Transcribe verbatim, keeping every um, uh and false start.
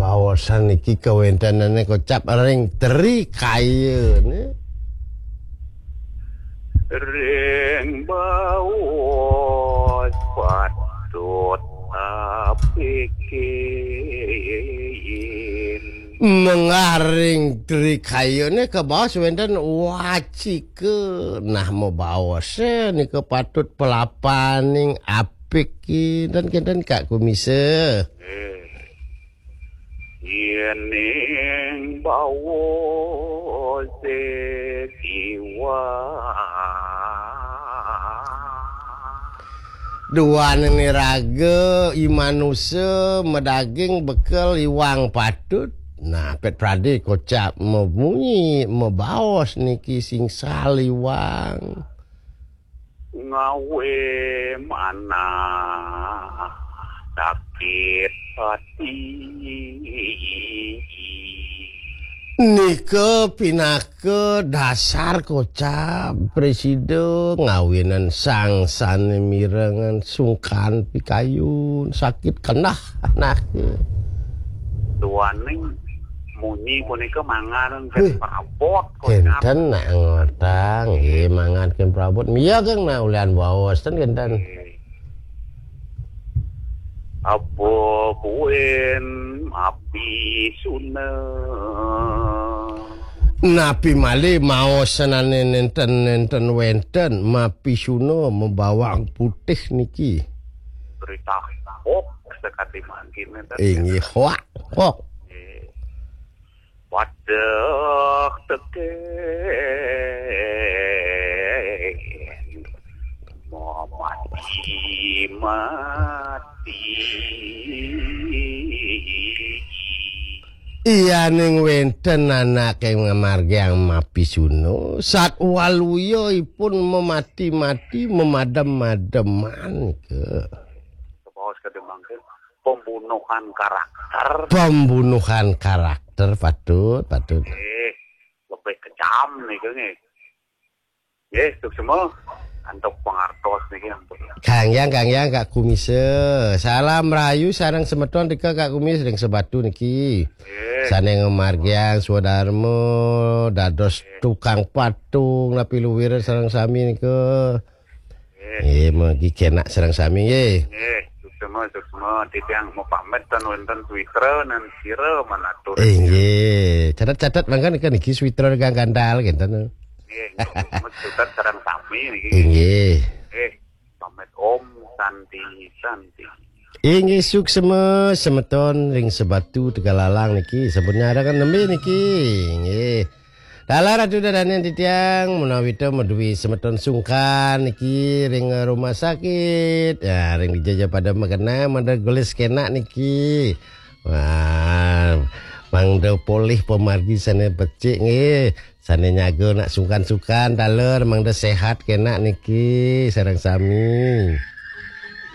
Baosan niki kawéntenané kocap ring Tri Kaya né. Ring baos patut apikin. Menggah ring Tri Kaya né kabaos wénten wacika. Nah, mabaosé nika patut palapaning apik kinten-kinten Kak Kumisa. Yéning baosé kiwang. Duaning iraga i manusa madaging bekel iwang patut. Nah, pét pradé kocap mamunyi, mabaos niki sing saliwang. Ngawé manah sakit ati. Nika pinaka dasar kocap prasida ngawinan sang sané mirengan sungkan pikayun sakit kenah anake. Duaning munyi punika mangan Wih. Perabot kocap. Kénten nak ngotang, nggih mangan kén perabot. Mia kang nak ulian baos ten kénten. Apa buin mapisuna. Napi malih maosenané nénten-nénten wénten mapisuna mabawang putih niki. Berita hoax sakadi mangkin nénten. Inggih hoax, hoax. Nggih. Wadah tekén mati mati. Iyaning wénten anaké ngamargiang mapisuna, satwaluya ipun mamati-mati, mamadem-mademan nika. Kabaos kadé mangkin pembunuhan karakter. Pembunuhan karakter, patut, patut. Eh, lebih kejam nika nggih. Nggih, suksma antuk pangartos niki ampun. Kang Yang, Kang Yang, Kak Kumisa. Salam rahayu sareng semeton nika Kak Kumis ring Sebatu niki. Nggih. Sané ngamargiang swadarma dados tukang patung napi luwir sareng sami nika. Nggih. Nggih, mugi kénak sareng sami nggih. Nggih, suksma, suksma. Titiang mapamit ten wénten switra nan sira manatur. Inggih. Catet-catet mangga nika niki switra kang gandal kénten. Nggih, nggih, suksma sareng sami niki. Inggih. Nggih, pamit Om Santi Santi. Inggih suksma semeton ring Sebatu Tegalalang niki sampun nyarengan nembé niki. Inggih. Taler Ratu Dadané titiang menawi ta madué semeton sungkan niki ring rumah sakit. Ya, ring dija ja pada magenah, mangda gelis kénak niki. Wah, mangda polih pamargi sané becik nggih. Sané nyaga nak sungkan-sungkan taler mangda séhat kénak niki sareng sami.